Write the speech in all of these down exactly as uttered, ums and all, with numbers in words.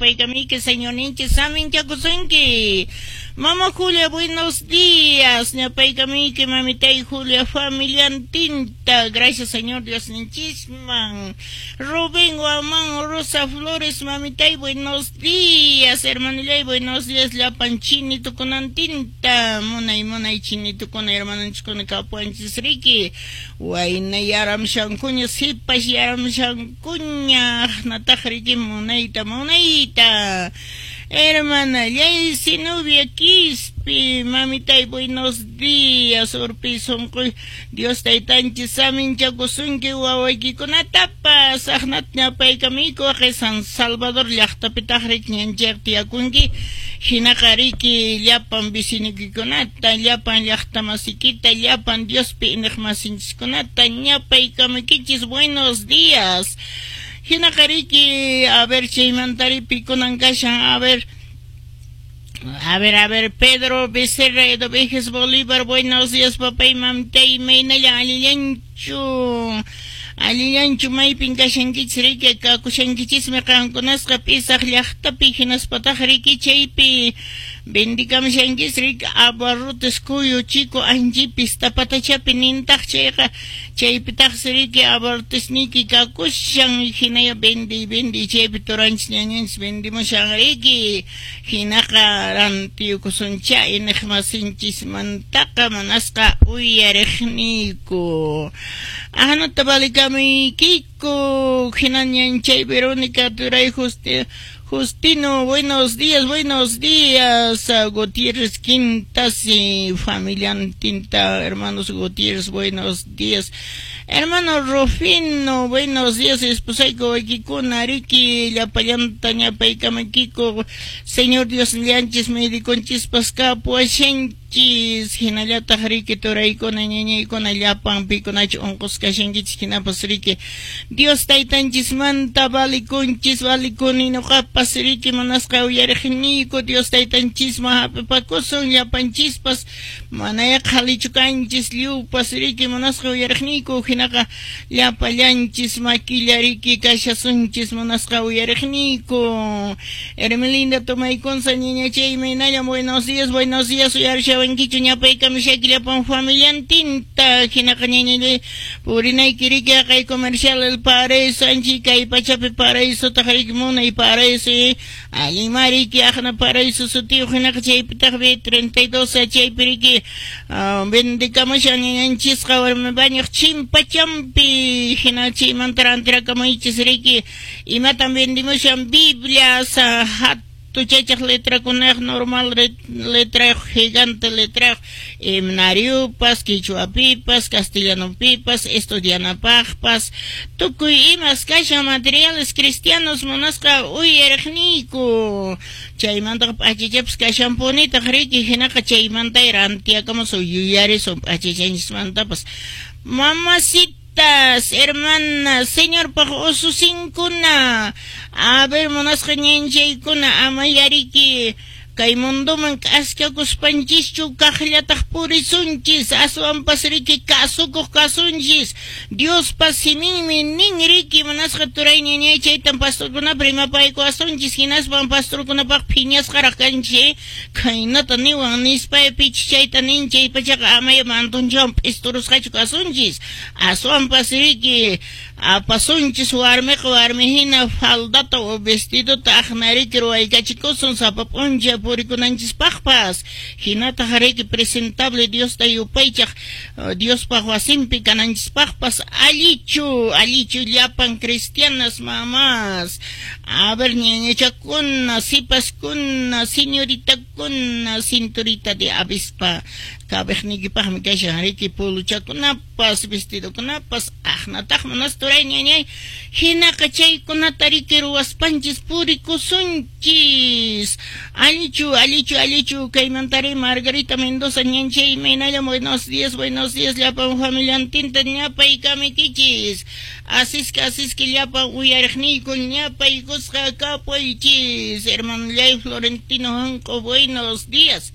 Ñapaykamiki Señorninchis saminchakusunki. Mama Julia, buenos días. Ñapaykamiki mamitay Julia familiantinta. Gracias, Señor Dios ninchisman. Rubén Guamán, Rosa Flores, mamitay, buenos días. Hermanillay, buenos días. Llapan chinitukunantinta. Munay, munay chinitukuna, hermananchiskuna kapuanchis riki. Wayna yaramshankuña, sipas yaramshankuña. Nataq riki munayta, munayta. Hermana Zenobia Quispe, mamitay, buenos días, urpi sunquy, Dios taytanchis saminchakusunki wawaykikunatapas, aqnata ñapaykamiyku San Salvador llaqtapitaq riki ñanchayqa tiyakunki, hinaqa riki llapan vecinoykikunata, llapan llaqtamasikita, llapan Diospi iñiqmasinchiskunata ñapaykamuykichis, buenos días. Hinaqa riki, a ver, chaymantari pikunan kashan, a ver, a ver, a ver, Pedro Becerra, Edovejes Bolívar, buenos días, papá y mamtay, imaynalla allillanchu, allillanchu maypin kashankichis riki, kakushankichismi qankunasqa P'isaq llaqtapi, hinaspataq riki chaypi vendikamushankis riki abarrotes Cuyo Chico Anchipis tapatachapi nintaq chayqa chaypitaqsi riki abarrotesniyki kakushan, hinaya vendiy vendiy chaypi turanchis ñañanchis vendimushan riki, hinaqa rantiyukusuncha iñiqmasinchismantaqa manasqa uyariqniyku. Ahnata valikamuykiku, hina ñanchay Verónica Turay Justi Justino, buenos días, buenos días, Gutiérrez Quintas y familiantinta, hermanos Gutiérrez, buenos días. Hermano Rufino, buenos días, esposayku waykikuna, riki, llapallanta ñapaykamakiko, Señor Dios llanchis, mediconchispas kapuashanchis, hinallataq riki turaykuna, ñañaykuna, llapan pikunachu unqusqa kashankichis, hinapas riki, Dios taytanchismanta valikunchis, valikuni nuqapas riki manasqa uyariqniyku, Dios taytanchisman hap'ipakusun, llapanchispas, manaya qhalichu kanchis, lliwpas riki manasqa uyariqniyku, hinaqa llapallanchis makilla riki kashasunchis munasqa uyariqniyku. Hermelinda Tomaykunsa ñañachay imaynalla, buenos días, buenos días, uyarishawankichu ñapaykamushayki llapan familiantinta, hinaqa ñañallay purinayki riki haqay comercial El Paraíso anchi kay pachapi paraísotaq riki munay paraíso, allinma riki aqna paraíso sutiyuq, hinaqa chaypitaq B treinta y dos chaypi riki vendikamushan ñañanchisqa warmi bañuq chimpachampi, hina chaymanta rantirakamuychis riki imatan vendimushan Biblias, hatuchachaq letrakunaq normal letrayuq, gigante letrayuq, himnariupas, quichuapipas, castellanopipas, estudianapaqpas, tukuy imas kashan materiales cristianos munasqa uyariqniyku. Chaymantaqa p'achachapas kashanpunitaq riki, hinaqa chaymanta rantiakamusun yuyarisun p'achachanchismantapas. Mamacitas, hermanas, Señorpaq ususinkuna, a ver munasqa ñanchaykuna, ama yariki kay mundoman k'askakuspanchischu kaqllataq purisunchis, aswanpas riki kasukuq kasunchis, Diospa siminmi nin riki munasqa turay ñañay, chaytan pastorkunapa rimapaykuwasunchis, hinaspan pastorkunapaq phiñasqaraq kanchis, khaynata niwan nispa pichis chayta nin, chay pachaqa amaya mantunchawan p'isturusqachu kasunchis, aswanpas riki apasunchis warmiqa warmi hina faldata o vestidota aqnariki ruwaykachikusun sapa p'unchay purikunanchispaqpas, hinataq riki presentable Diosta yupaychaq Diospaq wasinpi kananchispaqpas, allichu, allichu llapan cristianas mamás, a ver ñañachakuna, sipaskuna, señoritakuna, cinturita de avispa kabiqniykipaqmi kashan riki puluchakunapas, vestidokunapas, aqnataq manas turay ñañay, hinaqa chaykunata riki ruwaspanchis purikusunchis, allichu, allichu, allichu, kaymantari Margarita Mendoza ñanchay imaynalla, buenos días, buenos días, llapan familiantinta ñapaykamuykichis, asisqa asisqa llapan uyariqniyku ñapaykusqa kapuychis, hermanallay Florentino Hanco, buenos días.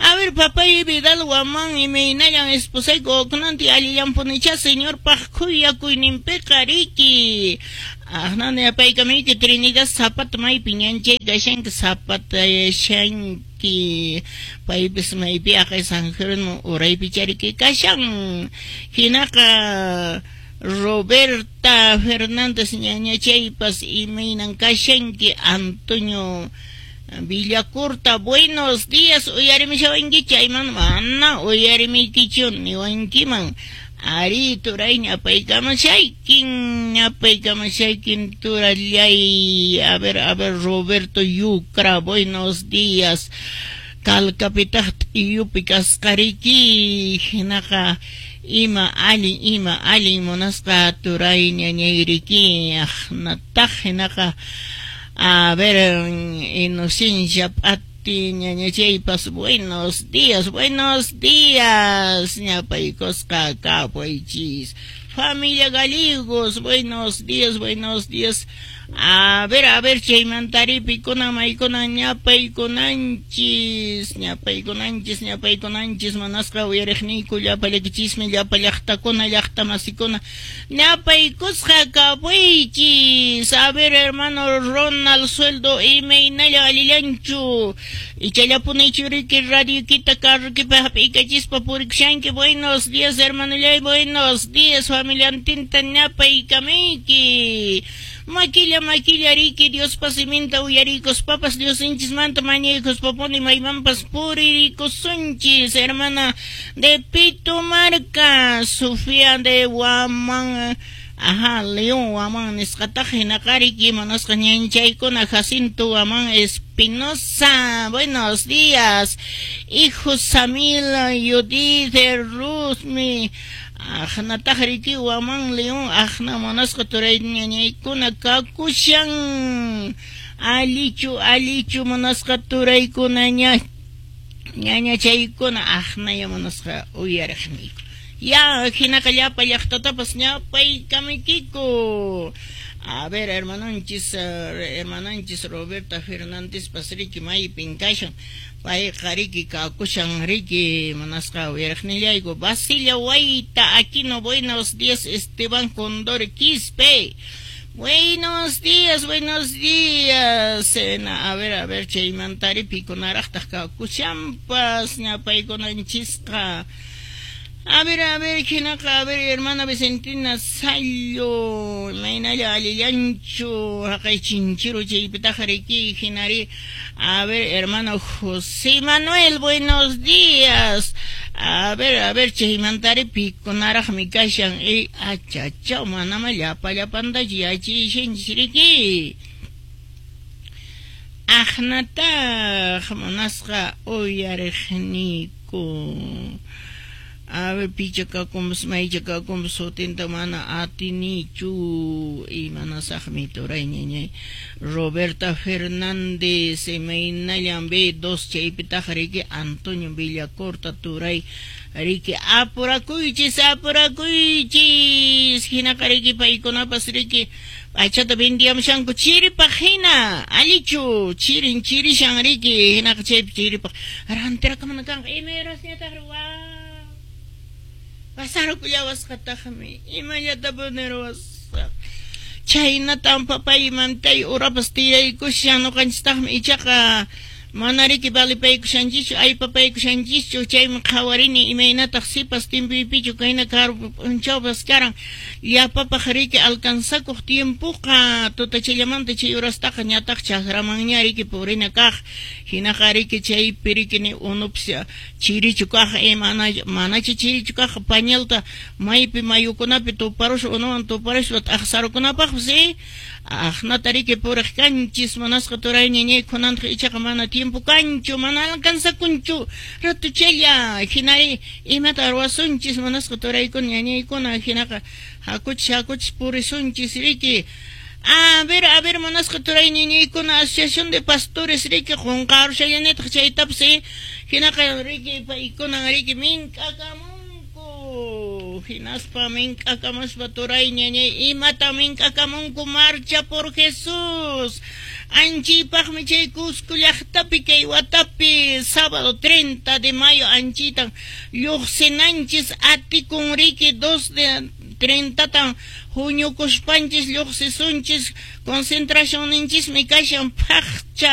A ver, papay Vidal Guamán imaynallan esposayku oqnanti allillampunicha señorpaq khuyakuyninpiqa riki. Aqnani apaykamiyki Trinidad Zapata maypi ñanchay kashanki Zapata shanki paypis maypi aqay San Jerónimo uraypi chariki kashan. Hinaqa Roberta Fernández ñañachaypas imaynan kashanki. Antonio Villacorta, buenos días, uyarimishawanki chayman mana uyarimiykichu niwankiman. Ari turay ñapaykamashaykin ñapaykamashaykin turallay. A ver, a ver, Roberto Yucra, buenos días. Calcapitaq t'iyupi kasqariki hinaqa ima allin ima allin munasqa turay ñañayriki aqnataq hinaqa. A ver, Inocencia Pati ñañachaypas buenos días, buenos días, ñapaykusqa kapuychis. Familia Gallegos, buenos días, buenos días. A ver, a ver, chaymantari pikuna maykuna ñapaykunanchis, ñapaykunanchis, ñapaykunanchis, manasqa uyariqniyku llapa llakichismi, llapa llaqtakuna, llaqta masikuna, ñapaykusqa kapuychis. A ver, hermano Ronald Sueldo, imaynalla allillanchu, ichallapunichu riki radiokita carrokipa hap'iykachispa purikushanki. Buenos días, hermanollay, buenos días, familiantinta ñapaykamiyki. Maquilla, maquilla, riki, Dios pasiminta uyarikuspapas, Dios inchismanta mañaykuspapuni maymanpas puririkusunchis. Hermana de Pitumarca, Sofía de Guamán, ajá, León Guamán, nisqataq hinaqariki manasqa ñanchaykuna. Jacinto Guamán Espinosa, buenos días. Hijo Samil, Judith, Ruzmi, aqnataq riki Guamán León, aqna munasqa turay ñañaykuna kakushan. Alichu, alichu munasqa turaykuna ña ñañachaykuna aqnaya munasqa uyariqniyku. Ya, hinaqa llapa llaqtatapas ñapaykamiykiku. A ver, hermanonchis, hermananchis Roberta Fernández pasriki maypin kashan. Payqa riki kakushan riki munasqa uyariqnillayku. Basilia Wayta Aquino, buenos días. Esteban Condor Quispe, buenos días, buenos días. A ver, a ver, chaymantari pikunaraqtaq kakushanpas ñapaykunanchisqa. A ver, a ver, hinaqa, a ver, hermana Vicentina Sallo, maynalla allillanchu, haqay chinchiru chaypitaq riki hinari. A ver, hermano José Manuel, buenos días. A ver, a ver, chaymantari pikunaraqmi kashan. E achachaw, manama llapa llapanta yachishanchis riki. Aqnataq munasqa uyariqniyku. A ver, pichakakumbas, maychakakumbas, sutinta mana atinichu, imanasaqmi turay ñañay. Roberta Fernández, imaynallan B dos chaypitaq riki. Antonio Villacorta turay riki, apurakuychis, apurakuychis. Hinaqa riki paykunapas riki p'achata vendiamushanku chiripaq hina, allichu, chirin chirishan riki, hinaqa chaypi chiripaq rantirakamana kanqa. Imayrasñataq wa pasarukullawasqataqmi, imallata ruwasaq. Chhaynatan papaymantay urapas tiyaykushan ñuqanchistaqmi ichaqa mana riki valipaykushanchischu, aypapaykushanchischu. Chaymi qhawarini imaynataq sipas timpuypichu kayna karu p'unchawpas karan llapapaq riki alcanzakuq tiempoqa tutachallamanta chay urastaqa ñataq chakramanña riki purina kaq. Hinaqa riki chaypi riki ni unupas chirichu kaq, mana manachu chirichu kaq pañalta maypi mayukunapi tuparuspa unuwan tuparuspa t'aqsarukunapaqpas eh aqnata riki puriq kanchis munasqa turay ñañay. Kunantaq ichaqa mana tiempo kanchu, mana alcanzakunchu ratuchalla. Hinari imata ruwasunchis munasqa turaykuna ñañaykuna. Hinaqa hakuchis hakuchis purisunchis riki. A ver, a ver, munasqa turay ñañaykuna, Asociación de Pastores riki qunqarushallanitaq chaytapas eh hinaqa riki paykuna riki mink'akamunku. Hinaspa mink'akamuspa turay ñañay imata mink'akamunku. Marcha por Jesús. Anchipaqmi chay Cusco llaqtapi kay watapi sábado treinta de mayo anchitan lluqsinanchis atikun riki dos de treinta huñukuspanchis lluqsisunchis concentracionninchismi kashan phaqcha.